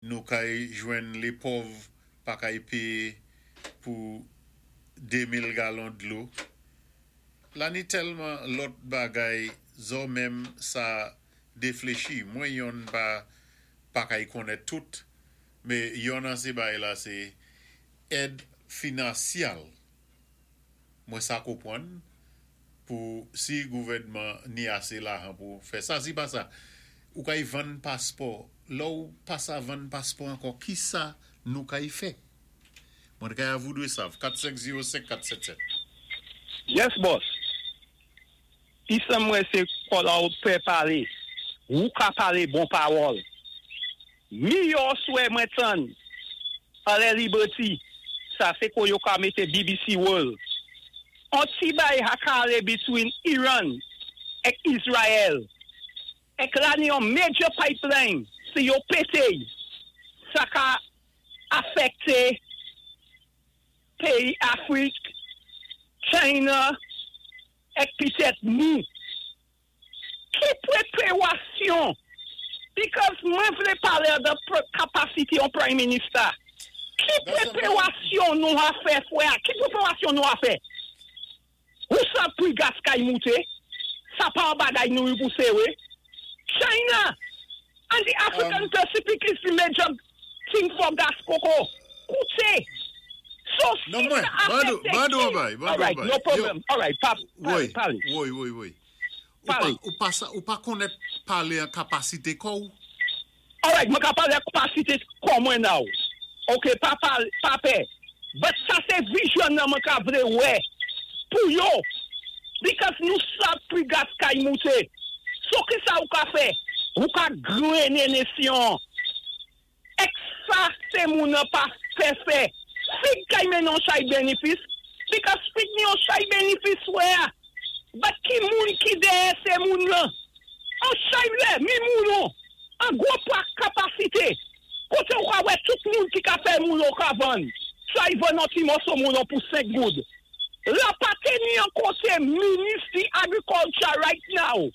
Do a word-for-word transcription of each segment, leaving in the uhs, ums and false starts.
Nou kay jwenn lé pòv pa kay péyé pou dé mil galon dlo. La ni tèlman lòt bagay zo menm sa défléchi. Mwen yon pa pa kay konnèt tout, mé yon nan sé bagay la sé èd finansyal. Mwen sa konpwann pou si gouvèdman ni asé lajan pou fè sa, si pa sa. Ou kay vann paspò, lò ou pa sa vann paspò ankò, ki sa nou kay fè? Mwen kay avoudwe sav, kat senk zewo senk kat sèt sèt. Yes, boss. Isa mwen sé kola ou pé palé. Ou ka palé bon pawòl. Miyò swè mwen tann. Ale Liberty. Sa sé ko yo ka mété B B C World. On ti bay ha ka alé between Iran ek Israel. Ek la ni yon major pipeline. Si yo pété, sa ka afekté péyi Afrik, China, ek pitèt nou. Ki pwépéwasyon? Because mwen vlé palé de kapasité yon Prime Minister. Ki pwépéwasyon nou a fè, fwè? Ki pwépéwasyon nou a fè? Ou sa pri gas kay mouté? Sa pa an bagay nou yon pou sewe? China and the African um, Pacific is the major thing for gas koko. Koute. So si Non mwen, sa bandou, afekte bandou ki an bay, bandou All right, an bay. no problem. All right, pa, Woy, pale, pale. woy, woy, woy. Ou pa, Pale. ou pa, sa, ou pa konnèt palé an kapasité kò ou? All right, mwen ka pale kapasité kò mwen now. Ok, pa pale, pa pè. But sa sé vision nan mwen ka vlé wè. Pou yo. Because nou sa pri gas kay mouté. So ki sa ou ka fè? Ou ka gréné nesyon. Ek sa sé moun nan pa fè fè. Fig kay men yon chay benefis. Because fig ni yon chay benefis wè a. But ki moun ki déyè sé moun lan? An chay lè, mi moun nou. An gwo pa kapasité. Koté ou ka wè tout moun ki ka fè moun ou ka vann. Chay vann an ti moso moun ou pou senk goud. La pa teni an koté Ministry Agriculture right now.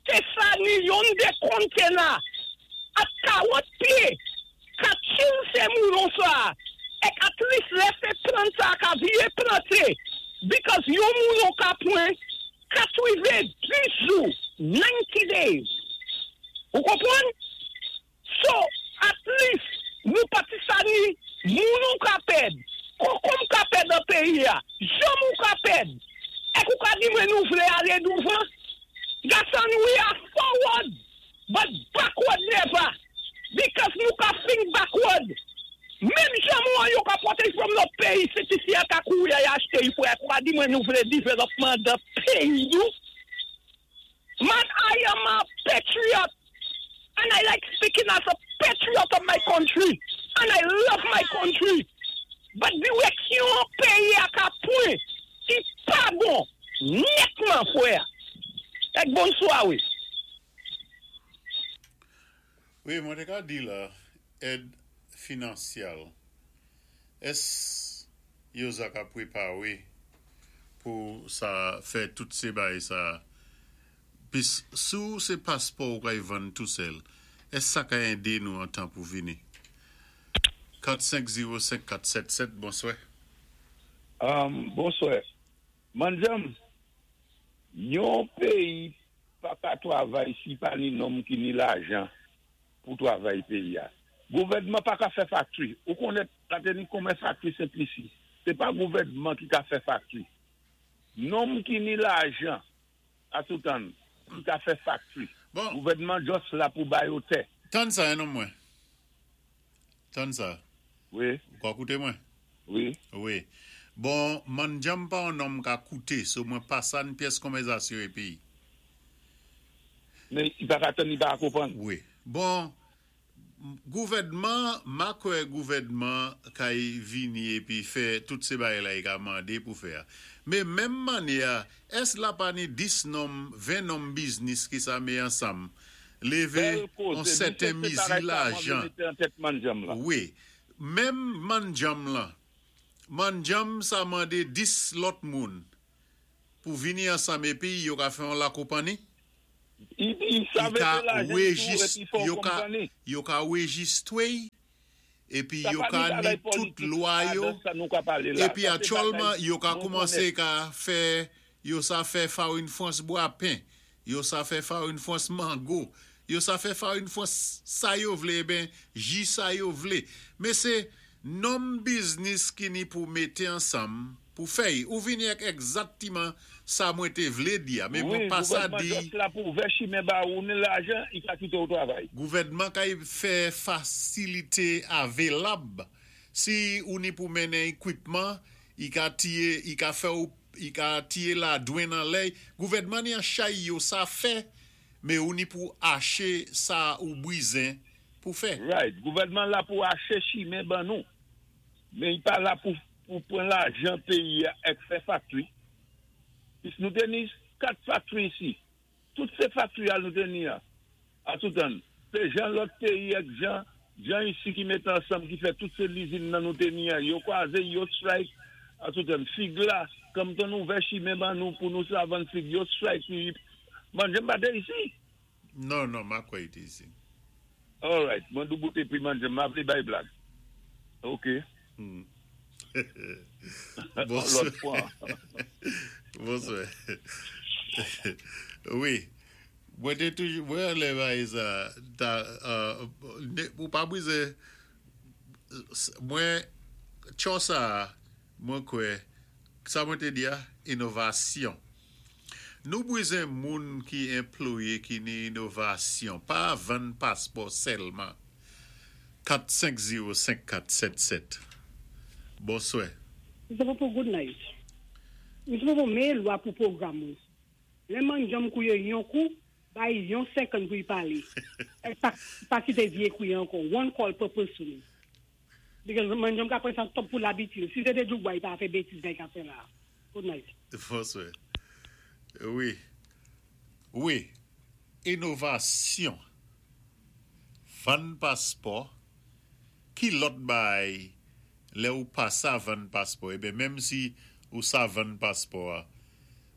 Té sa ni yon dé container at karant pyé. Ka chill sé moun ou sa. Ek at least lè sé plant sa ka vié planté. Because yon moun ou ka pwen katwéven-dis jou, ninety days. Ou konpwann? So, at least, nou pati sa ni, moun ou ka pèd, konkonm ka pèd nan péyi ya, janm ou ka pèd. Ek ou ka di mwen nou vlé alé douvan? Gasan, we are forward, but backward never. Because nou ka think backward. Menm janm ou an yo ka poté from lòt péyi, sé ti si a ka kouri a y achté yi fwe. Ek ou ka di mwen nou vlé dévelopman de péyi nou? Man, I am a patriot. And I like speaking as a patriot of my country. And I love my country. But direksyon péyi a ka pwan, i pa bon. Nètman, fwè. Ek bonswa, wi. Wi, mwen té ka di la, èd finansyal, ès yo za ka pwépawé pou sa fè tout sé bay sa, pis sou sé paspò ou kay vann tou sèl, ès sa ka édé nou an tan pou vini? kat senk zewo senk kat sèt sèt, bonswè. Um, bonswè. Manjam, yon péyi pa ka twavay si pa ni nonm ki ni lajan pou twavay péyi ya. Gouvèdman pa ka fè factory. Ou konnèt la ni konmen factory Sent Lisi. Sé pa gouvèdman ki ka fè factory. Nonm ki ni lajan a toutan ki ka fè factory. Bon. Gouvèdman just la pou bay yo tè. Tann sa, en mwen. Tann sa. Wi. Ou ka kouté mwen? Wi. Wi. Bon, manjam pa an nonm ka kouté, so mwen pa sa n pyès konvèzasyon épi. Men, i pa ka tann, i pa konpwann. Wi. Bon, gouvèdman, ma kwè gouvèdman kay vini épi fè tout sé bagay la i ka mandé pou fè. Mé menm mannyè, ès la pa ni dis nonm, ven nonm biznis ki sa mé ansanm, lévé Bèl an kozé, sèten mi se mizi se bagay sa mwen lajan. Mété an tèt manjam la. Wi. Menm manjam lan, manjam sa mandé dis lòt moun pou vini ansanm épi yo ka fè an la konpanni. I, i sa I ka mete lajan tou rejis, épi fò yo ka, konpani. Yo ka rejistwé, épi Sa yo pa ka ni ni bagay tout politik lwa yo, adan sa nou ka palé la. Épi Sa sé aktyèlman, bagay yo ka nou koumansé konnèt. Ka fè, yo sa fè farin frans bwa pen, yo sa fè farin frans mango, yo sa fè farin frans sa yo vlé, ben, ji sa yo vlé. Men sé nonm biznis ki ni pou mété ansanm, pou fè, ou vini ak egzaktiman sa mwen té vlé di a, men Wi, mwen pa sa gouvèdman di, just la pou ouvè chimen ba ou ni lajan, i ka kité ou travay. Gouvèdman ka fè fasilité avelab. Si ou ni pou mennen ekwipman, i ka tié, i ka fè ou, i ka tié ladwann nan lèy. Gouvèdman ni an chay yo sa fè, men ou ni pou aché sa ou bwizen pou fè. Right, gouvèdman la pou aché chimen ban nou. Men i pa la pou, pou pran lajan péyi a ek fè factory. Pis nou té ni kat factory isi. Tout sé factory al nou té ni a. A tout an. Sé jan lòt péyi ek jan, jan isi ki mét ansanm ki fè tout sé lizin nan nou té ni a. Yo kwaze, yo strike a tout an. Fig la, kòm ton ouvè chimen ban nou pou nou sa vann fig, yo strike. Man, jem pa té isi. Non, non, ma kwè ite isi. All right, mwen douboute pi manje, ma vle bay blag. Ok. Hmm. Lòt Bonswè. fwa. Bonswè. Wi. Mwen té toujou, mwen lè bay sa, ta, uh, ne, ou pa bwize, mwen, tcho sa, mwen kwè, sa mwen té di a, inovasyon. Nou bwizen moun ki employé ki ni inovasyon, pa vann paspò sèlman. kat senk zewo senk kat sèt sèt. Bonswè. Mse Popo, good night. Mse Popo, mé lwa pou pwogram ou. Lè man jom kouye yon kou, bay yon second pou y pale. E pa, pa kite vie kouye ankò. One call per person. Because man jom ka pren sa top pou l'habitude. Si se te djouk bay, pa fè bêtiz bay ka fè la. Good night. Bonswè. Wi. Wi. Inovasyon. Vann paspò. Ki lòt bay lè ou pa sa vann paspò? Ében, menm si ou sa vann paspò a.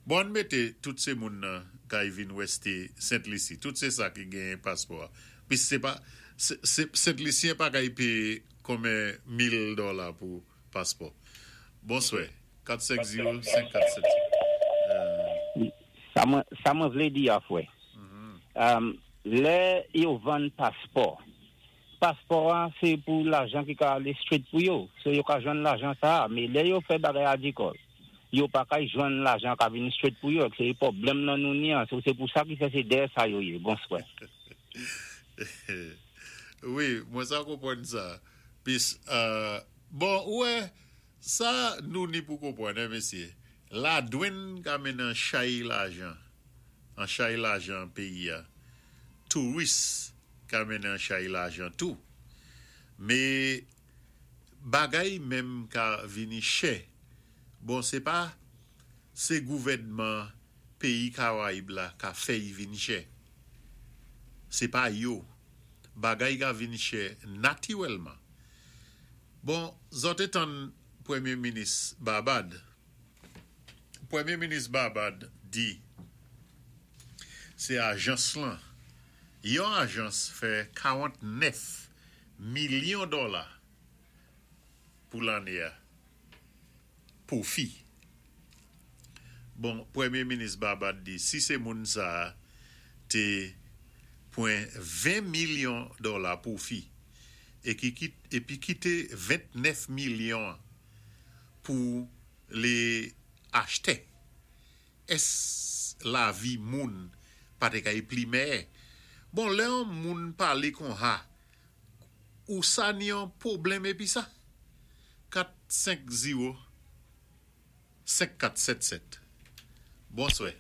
Bon, an mété tout sé moun nan kay vin wèsté Sent Lisi. Tout sé sa ki gen paspò a. Pi sé pa, sé, sé, Sent Lisyen pa kay péyé konmen mil dola pou paspò. Bonswè. kat senk zewo senk kat sèt. Euh, Sa mwen, sa mwen vlé di a fwè. Um, lè yo vann paspò, paspò an, sé pou lajan ki ka alé straight pou yo. So yo ka jwenn lajan sa, men lè yo fè bagay agrikòl, yo pa ka jwenn lajan ka vini straight pou yo. Sé pwoblèm nan nou ni an. So, sé pou sa ki fè sé dèyè sa yo yé. Bonswè. Wi, mwen sa konpwann sa. Pis, euh, bon, wè, sa nou ni pou konpwann, hein, mesyé. Ladwann ka mennen an chay lajan, an chay lajan péyi a. Touris ka mennen an chay lajan tou. Mé bagay menm ka vini chè. Bon, sé pa sé gouvèdman péyi Karayib la ka fè y vin chè. Sé pa yo. Bagay ka vin chè natirèlman. Bon, zòt té tann Pwémyé Minis Barbad. Pwémyé Minis Barbad di sé ajans lan. Yon ajans fè karantnèf milyon dola pou lanné a. Pwofi. Bon, Pwémyé Minis Barbad di si sé moun sa té pwan ven milyon dola pwofi é ki kit- épi kité ventnèf milyon pou lé achtè. Ès lavi moun pa té kay pli mèyè? Bon, lè yon moun palé kon ha, ou sa ni yon pwoblèm épi sa? kat senk zewo senk kat sèt sèt. Bonswè.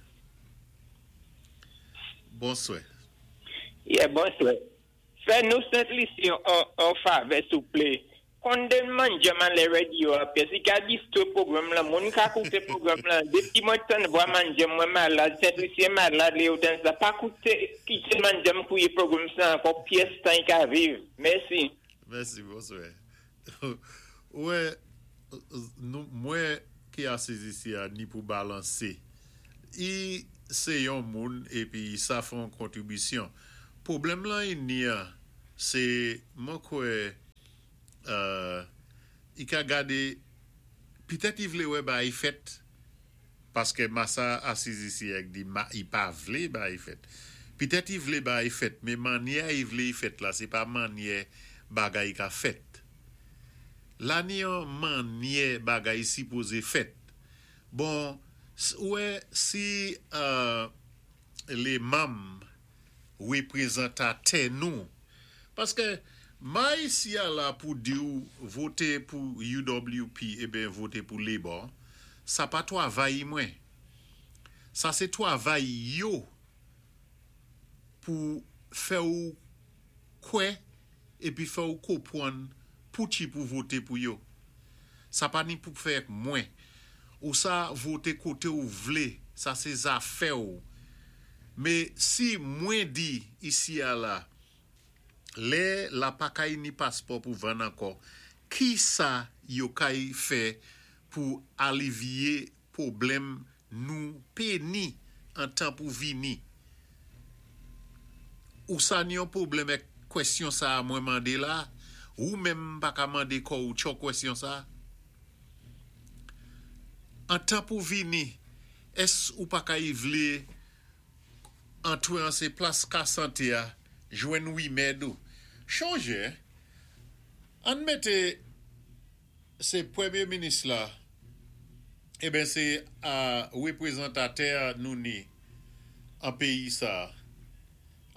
Bonswè. Yeah, bonswè. Fè nou Sent Lisi an, an favè, souplé. Konde manjam an le radio a, pis i ka distwé pwogram la, moun ka kouté pwogram la. Dépi mwen tann vwa manjam mwen malad, Sent Lisyen malad, lè yo tann sa. Pa kouté, kité manjam kouwé pwogram sa ankò, pyès tan i ka viv. Mèsi. Mèsi, bonswè. Wè, nou, mwen ki asiz isi a ni pou balansé. I sé yon moun épi sa fè yon kontribisyon. Pwoblèm lan ni sé mwen kwè euh, i ka gadé pitèt i vlé wè bagay fèt paské masa asiz isi a di ma, i pa vlé bagay fèt. Pitèt i vlé bagay fèt, mé mannyè i vlé fèt la, sé pa mannyè bagay ka fèt. La ni yon mannyè bagay sipozé fèt. Bon, wè si euh, lé manm wépwézantatè nou paské ma isi a la pou di ou voté pou U W P ébyen voté pou Labour, sa pa twavay mwen. Sa sé twavay yo pou fè ou kwè épi fè ou konpwann pou ti pou voté pou yo. Sa pa ni pou fè mwen. Ou sa voté koté ou vlé, sa sé zafè ou. Mé si mwen di isi a la, lè la pa kay ni paspò pou vann ankò, ki sa yo kay fè pou alivyé pwoblèm nou pé ni an tan pou vini? Ou sa ni yon pwoblèm ak kwèsyon sa mwen mandé la, ou menm pa ka mandé kò ou tcho kwèsyon sa? An tan pou vini, ès ou pa kay vlé antwé an sé plas ka santé a, jwenn wimèd ou? Chonjé, ann mété sé pwémyé minis la, ébyen sé a wépwézantatè nou ni an péyi sa.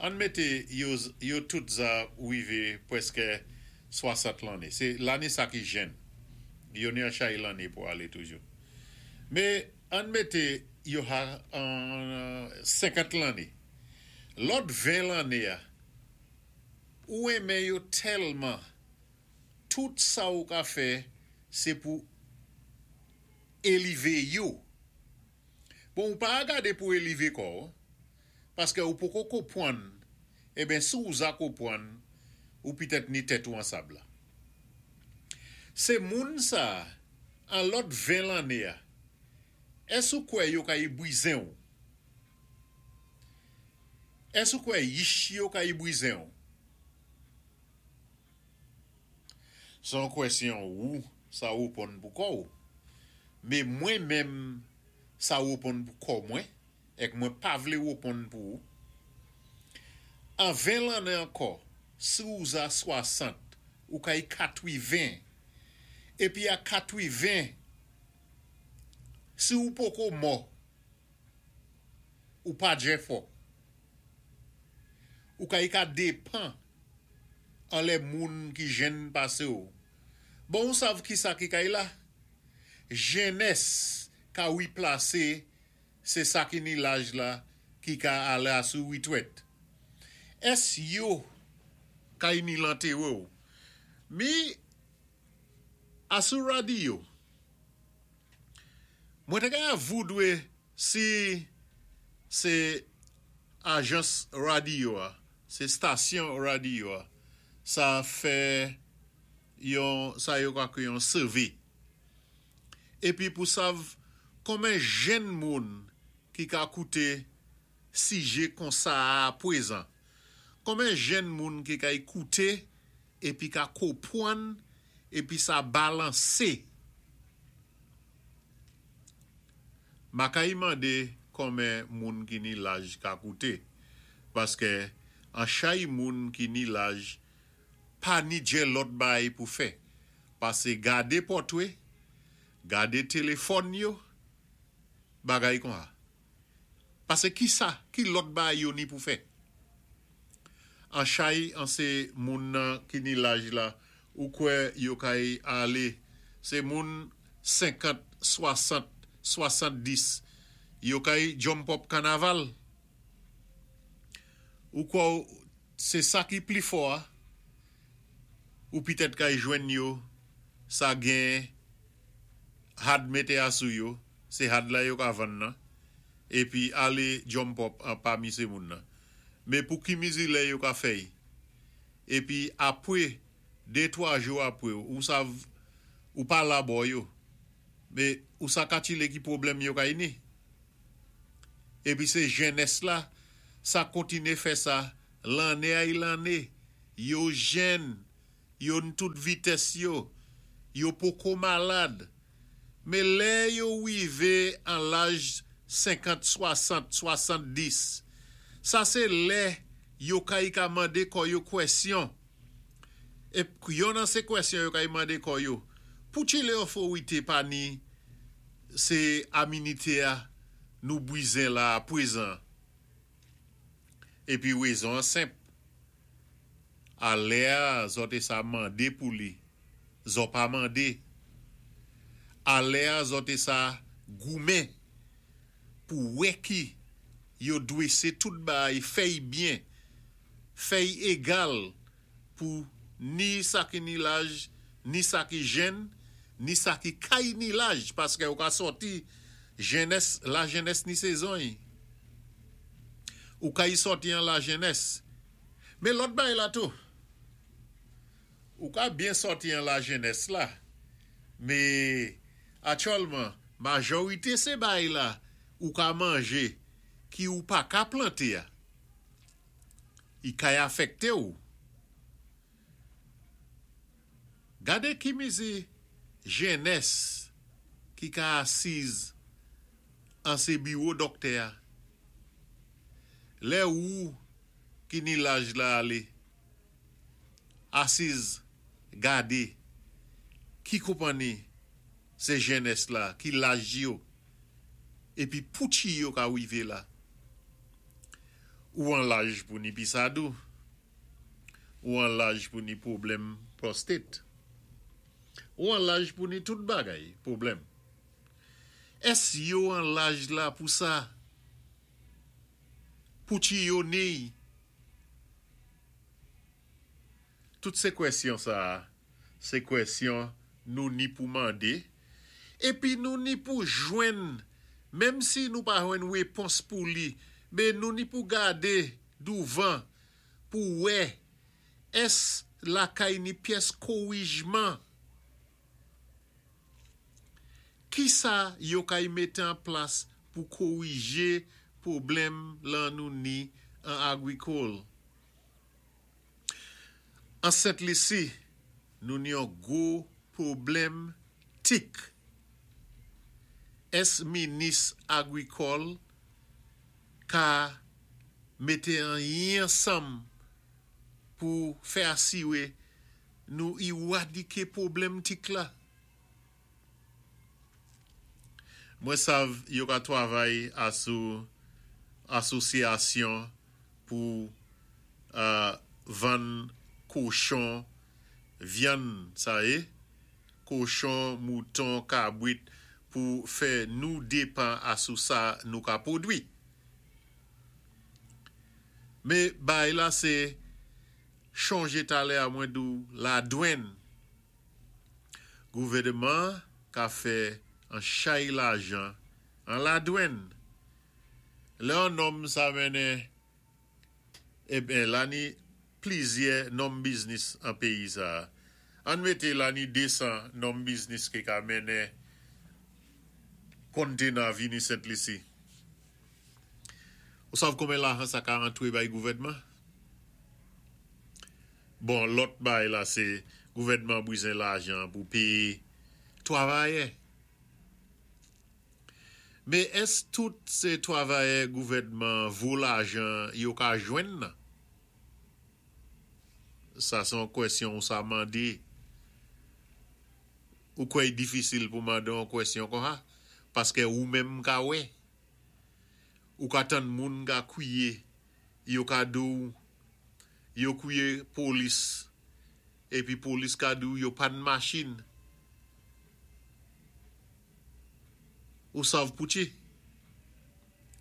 Ann mété yo, yo tout za wivé pwèské swasant lanné. Sé lanné sa ki jenn. Yo ni an chay lanné pou alé toujou. Mé ann mété yo ha an senkant lanné. Lòt ven lanné a, ou enmen yo tèlman, tout sa ou ka fè, sé pou élevé yo. Bon, ou pa gadé pou élevé kò, paské ou poko konpwann, ébyen si ou za konpwann, ou pitèt ni tèt ou an sab la. Sé moun sa, an lòt ven lanné a, ès ou kwè yo ka y bwizen ou? Ès ou kwè yich yo ka y bwizen ou? Son kwèsyon ou, sa wéponn pou kò ou. Mé mwen menm sa wéponn pou kò mwen, èk mwen pa vlé wéponn pou ou. An ven lanné ankò, si ou za swasant, ou kay katwiven, épi a katwiven, si ou poko mò, ou pa djè fò. Ou kay ka dépan an lè moun ki jenn pasé ou. Bon, ou sav ki sa ki kay la? Jennès ka wiplasé sé sa ki ni laj la ki ka alé asou witwèt. Ès yo kay ni lantéwé ou? Mi asou radyo. Mwen té ka voudwé si sé ajans radyo a, sé stasyon radyo a, sa fè yon sa yo ka yon survey. Épi pou sav konmen jenn moun ki ka kouté sijé kon sa a pwézan. Konmen jenn moun ki ka ékouté épi ka konpwann épi sa balansé. Ma kay mandé konmen moun ki ni laj ka kouté. Paské an chay moun ki ni laj pa ni djè lòt bay pou fè. Pasé gadé pòtwé, gadé téléfòn yo, bagay kon a. Pasé ki sa, ki lòt bay yo ni pou fè? An chay, an sé moun nan ki ni laj la, ou kwè yo kay alé, sé moun senkant, swasant, swasanndis, yo kay jump up kanaval. Ou kwè sé sa ki pli fò a, ou pitèt kay jwenn yo, sa gen had mété asou yo, sé had la yo ka vann nan, épi alé jump up an pami sé moun nan. Mé pou ki mizi lè yo ka fèy? Épi apwé, dé twa jou apwé, ou sav, ou pa la bo yo. Mé ou sa katchilé ki pwoblèm yo kay ni? Épi sé jènès la, sa kontiné fè sa, lanné ay lanné, yo jèn, yo ni tout vitès yo, yo poko malad. Mé lè yo wivé an laj senkant, swasant, swasanndis, sa sé lè yo kay ka mandé kò yo kwèsyon. É yon nan sé kwèsyon yo kay mandé kò yo: "Pouchi lè otorité pa ni sé aminité a nou bwizen la pwézan?" Épi wézon an senp. A lè a, zòt té sa mandé pou li. Zòt pa mandé. A lè a, zòt té sa goumen pou wè ki yo dwésé tout bagay fèy byen, fèy égal pou ni sa ki ni laj, ni sa ki jèn, ni sa ki kay ni laj, paské ou ka sòti jènès, la jènès ni sézon. Ou kay sòti an la jènès. Mé lòt bagay la tou. Ou ka byen sòti an la jènès la, mé aktyèlman, majorité sé bagay la ou ka manjé ki ou pa ka planté a. I kay afèkté ou. Gadé ki mizi jènès ki ka asiz an sé biwo dòktè a. Lè ou ki ni laj la alé asiz gadé ki konpanni sé jènès la, ki laj yo, épi pouchi yo ka wivé la. Ou an laj pou ni pisadou, ou an laj pou ni pwoblèm pwostat, ou an laj pou ni tout bagay pwoblèm. Ès yo an laj la pou sa? Pouchi yo ni? Tout sé kwèsyon sa, sé kwèsyon nou ni pou mandé, épi nou ni pou jwenn, menm si nou pa jwenn wépons pou li, mé nou ni pou gadé douvan, pou wè, ès lakay ni pyès kowijman? Ki sa yo kay mété an plas pou kowijé pwoblèm lan nou ni an agwikòl? An Sent Lisi, nou ni yon gwo pwoblèm tik. Ès minis agwikòl ka mété anyen ansanm pou fè asiwé nou iwadiké pwoblèm tik la? Mwen sav yo ka twavay asou asosyasyon pou euh, vann kochon, vyann sa é, kochon, mouton, kabwit, pou fè nou dépan asou sa nou ka pwodwi. Mé bagay la sé chonjé talè a mwen di ou ladwann. Gouvèdman ka fè an chay lajan an ladwann. Lè an nonm sa mennen, eben la ni plizyè nonm biznis an péyi sa. An mété la ni désan nonm biznis ki ka mennen konténa vini Sent Lisi. Ou sav konben lajan sa ka antwé bay gouvèdman? Bon, lòt bagay la sé gouvèdman bwizen lajan pou péyé twavayè. Mé ès tout sé twavayè gouvèdman vo lajan yo ka jwenn nan? Sa sé yon kwèsyon ou sa mandé. Ou kwè difisil pou mandé yon kwèsyon kon sa? Paské ou menm ka wè. Ou ka tann moun ka kwiyé, yo ka di ou, yo kwiyé polis, épi polis ka di ou yo pa ni machin. Ou sav pouchi?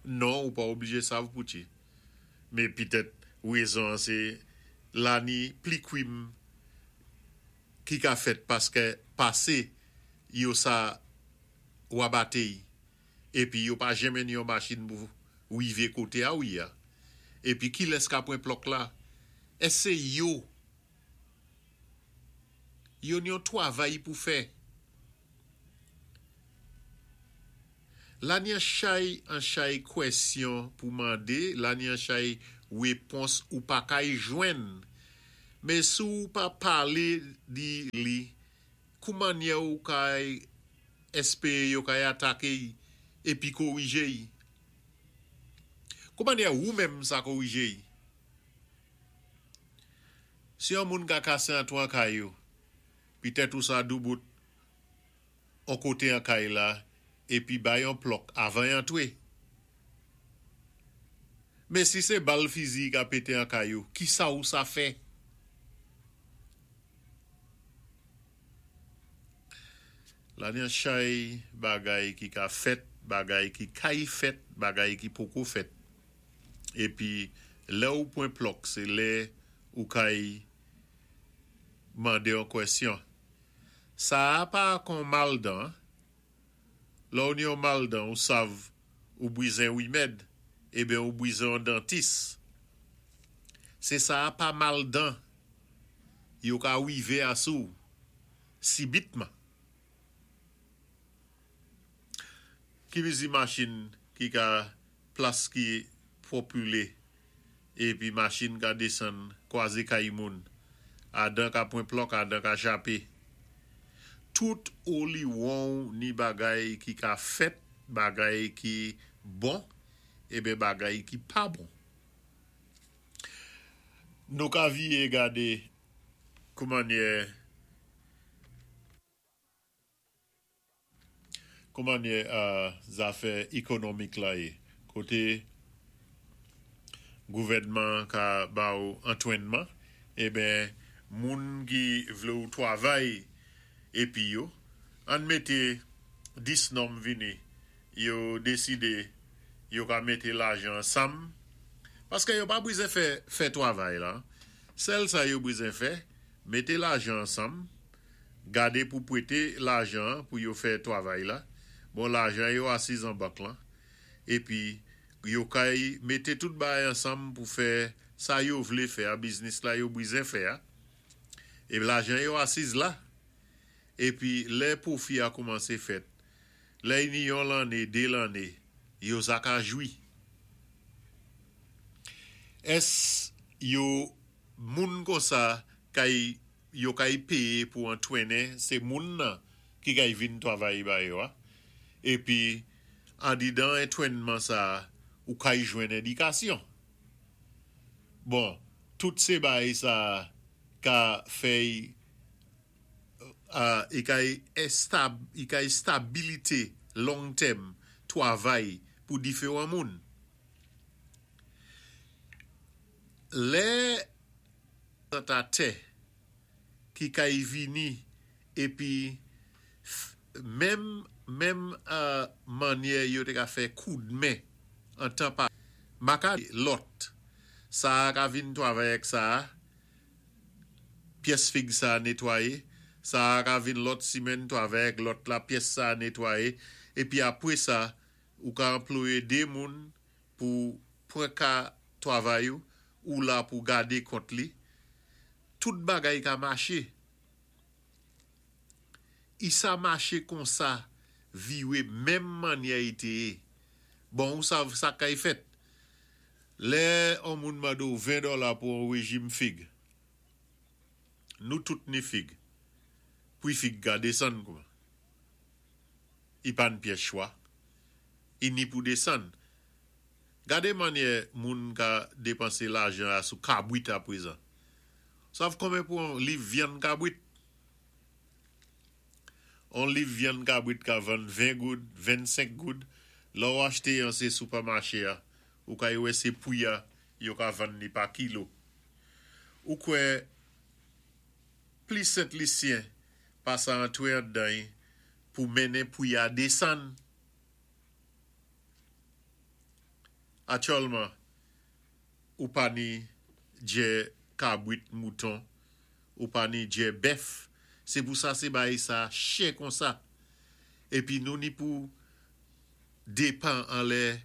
Non, ou pa oblijé sav pouchi. Mé pitèt wézon sé la ni pli kwim ki ka fèt paské pasé yo sa wabaté épi yo pa janmen ni yon machin pou wivé koté a ou ya. Épi ki lès ka pran plòk la? Ès sé yo? Yo ni yon twavay pou fè. La ni an chay an chay kwèsyon pou mandé, la ni an chay wépons ou pa kay jwenn. Mé si ou pa palé di li, kouman ou kay èspéwé yo kay ataké épi kowijé? Kouman ou menm sa kowijé? Si yon moun ka kasé antwé an kay yo, pitèt ou sa doubout an koté an kay la, épi bay yon plòk avan antwé. Mé si sé bal fizi ka pété an kay yo, ki sa ou sa fè? La ni an chay bagay ki ka fèt, bagay ki kay fèt, bagay ki poko fèt. Épi lè ou pwan plòk, sé lè ou kay mandé an kwèsyon. Sa a pa kon mal dan. Lè ou ni yon mal dan, ou sav ou bwizen wimèd, ében ou bwizen an dantis. Sé sa a pa mal dan. Yo ka wivé asou sibitman. Ki vizi machin ki ka plas ki popilé épi machin ka désann kwazé kay moun. Adan ka pwan plòk, adan ka chapé. Tout oliwon ni bagay ki ka fèt, bagay ki bon, ében bagay ki pa bon. Nou ka viyé gadé kouman yé kouman yé uh, zafè ékonomik la yé. Koté gouvèdman ka ba ou antwénman, ében moun ki vlé ou twavay épi yo, an mété dis nonm vini, yo désidé yo ka mété lajan ansanm, paské yo pa bwizen fè, fè twavay la. Sèl sa yo bwizen fè, mété lajan ansanm, gadé pou pwété lajan pou yo fè twavay la. Bon, lajan yo asiz an bank lan. Épi yo kay mété tout bagay ansanm pou fè sa yo vlé fè a biznis la yo bwizen fè a. É lajan yo asiz la. Épi lè pwofi a koumansé fèt. Lè ni yon lanné, dé lanné, yo sa ka jwi. Ès yo moun konsa kay yo kay péyé pou antwénnen, sé moun nan ki kay vin twavay ba yo a. Épi andidan antwénman sa ou kay jwenn édikasyon. Bon, tout sé bagay sa ka fè uh, i kay estab, i kay stabilité long terme twavay pou diféwan moun. Lè tè ki kay vini épi menm menm euh, mannyè yo té ka fè koudmen an tan pa maka lòt sa ka vin twavay ak sa pyès fig sa netwayé, sa ka vin lòt simèn twavay ak lòt la pyès sa netwayé, épi apwé sa ou ka anplwayé dé moun pou pwan ka twavay ou, ou la pou gadé kont li. Tout bagay ka maché. I sa maché konsa viwé menm mannyè i té yé. Bon, ou sav sa kay fèt. Lè on moun mande ou ven dola pou an wéjim fig. Nou tout ni fig. Pwi fig ka désann kouman. I pa ni pyès chwa. I ni pou désann. Gadé mannyè moun ka dépansé lajan a sou kabwit apwézan. Sav konbyen pou an liv vyann kabwit? On liv vyann kabwit ka vann ven goud, vennsenk goud. Lè ou achté an sé sipèmaché a, ou ka wè sé pwi a, yo ka vann ni pa kilo. Ou kwè plis Sent Lisyen pa sa antwé andan pou mennen pwi a désann. Aktyèlman, ou pa ni djè kabwit mouton, ou pa ni djè bèf. Sé pou sa sé bagay sa chè konsa. Épi nou ni pou dépan anlè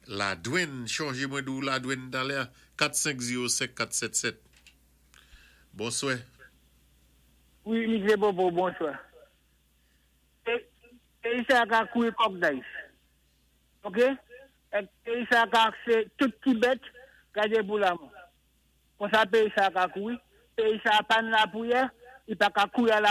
ladwann, chonjé mwen di ou ladwann talè, kat senk zewo senk kat sèt sèt. Bonswè. Wi, Misye Bobo, bonswa. É, é sa ka kouwé kòk dayis. OK? Èk péyi sa ka sé tout ti bèt gadé pou lanmò. Konsa péyi sa ka kouri, péyi sa pa nan lapriyè, i pa ka kouri a la